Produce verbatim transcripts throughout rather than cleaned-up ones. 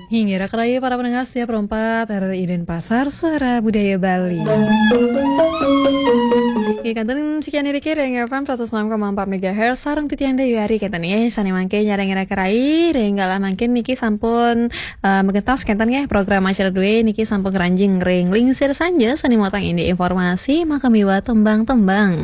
Hinggir raya para pendengar setia Pro empat R R I Denpasar, Suara Budaya Bali. Oke, kantun sekian diri kira yang F M seratus enam koma empat megahertz, sarang titiang Dewi Ari kenten ya, sane mangke nyarang ira kerai, ring galah mangkin niki sampun eh, megentos kenten ya, program acara due niki sampun keranjing ring lingsir sanja, sane motang ini informasi, maka miwa tembang-tembang.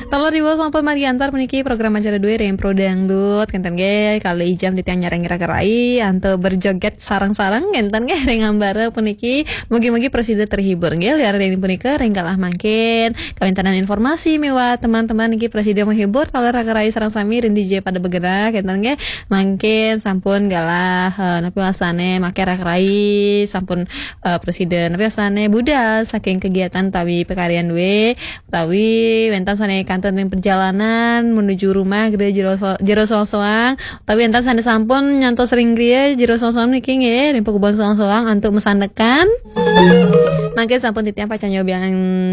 Taler riwuh sampun mariantar puniki program acara due ring Pro Dangdut, kenten nggih, kali jam titiang nyarang ira kerai, antuk berjoget sareng-sareng, kenten nggih, ring ambara puniki. Mugi-mugi prasida terhibur nggih, liwat ring punika ring galah mangkin. Kawéntenan informasi miwah teman-teman niki prasida menghibur, taler ira kerai sareng sami ring dija pada bergerak, kenten nggih. Mangkin sampun galah, eh, napi wastane make ira kerai, sampun, eh, prasida napi wastane budal saking kegiatan utawi pakaryan due. Utawi wenten sane kantun ring perjalanan menuju rumah, gede jero so-, jero soang-soang. Utawi wenten sane sampun nyantos ring griya, jero soang-soang niki nggih, ring pakubon soang-soang antuk masandekan. Mangke sampun titiang pacang nyobiang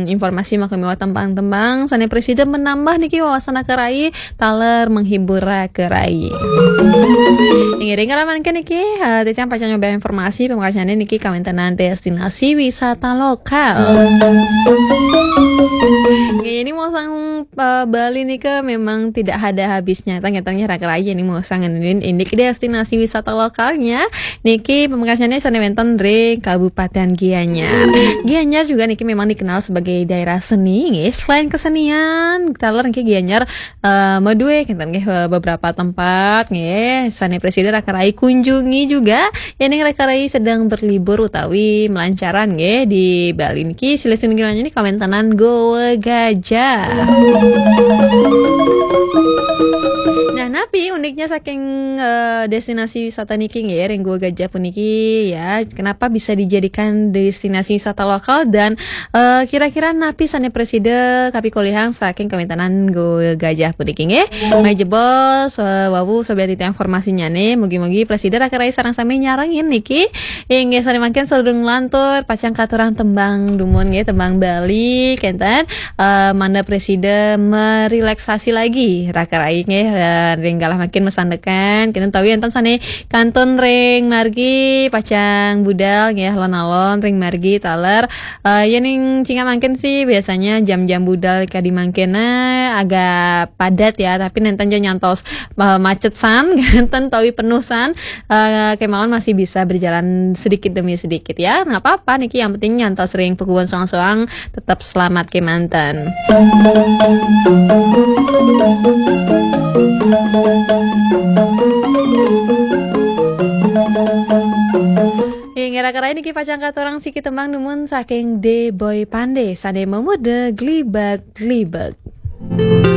informasi maka miwah tembang-tembang sane prasida menambah niki wawasan ira kerai, taler menghibur ira kerai. Inggih, ring ramalan niki, eh, titiang pacang nyobiang informasi pamekasane niki kawéntenan destinasi wisata lokal. Nggih, ini mosang, eh, Bali nika memang tidak ada habisnya. Ternyata ira kerai ini mosang ngenenin indik destinasi wisata lokalnya. Niki pamekasane sane wenten ring Kabupaten Gianyar. Gianyar juga niki memang dikenal sebagai daerah seni, nggih. Selain kesenian, taler niki Gianyar, eh, madue kenten nggih, eh, beberapa tempat nggih. Sane prasida ira kerai kunjungi juga. Yen ira kerai sedang berlibur utawi melancaran nggih di Bali niki, silih sinunggil niki kawéntenan Goa Gajah. Nah, napi uniknya saking, eh, destinasi wisata niki nggih, ring Goa Gajah puniki ya, kenapa bisa dijadikan destinasi wisata lokal dan, eh, kira-kira napi sane prasida kapikolihang saking kawéntenan Goa Gajah puniki nggih. Mai jebos, eh, wau sobat titiang informasinyane, mugi-mugi prasida ira kerai sareng sami nyarengin niki. Inggih, sane mangkin sadurung lantur, pacang katurang tembang dumun nggih, tembang Bali, kenten. Eh, mangda prasida merelaksasi lagi ira kerai nggih, eh, ring galah mangkin masandekan, kenten utawi enten sane kantun ring margi pacang budal nggih, alon-alon ring margi taler. Eh, yen ring cingak mangkin sih biasanya jam-jam budal kadi mangkin, eh, agak padat ya, tapi nenten ja nyantos, eh, macet san, kenten utawi penuh san, eh, kemawon masih bisa berjalan sedikit demi sedikit ya. Nggak apa-apa niki, yang penting nyantos ring pakubon soang-soang, tetap selamat kemanten. Inggih, ira kerai niki pacang katurang siki tembang dumun saking De Boy Pande, sane mamuda glibet-glibet.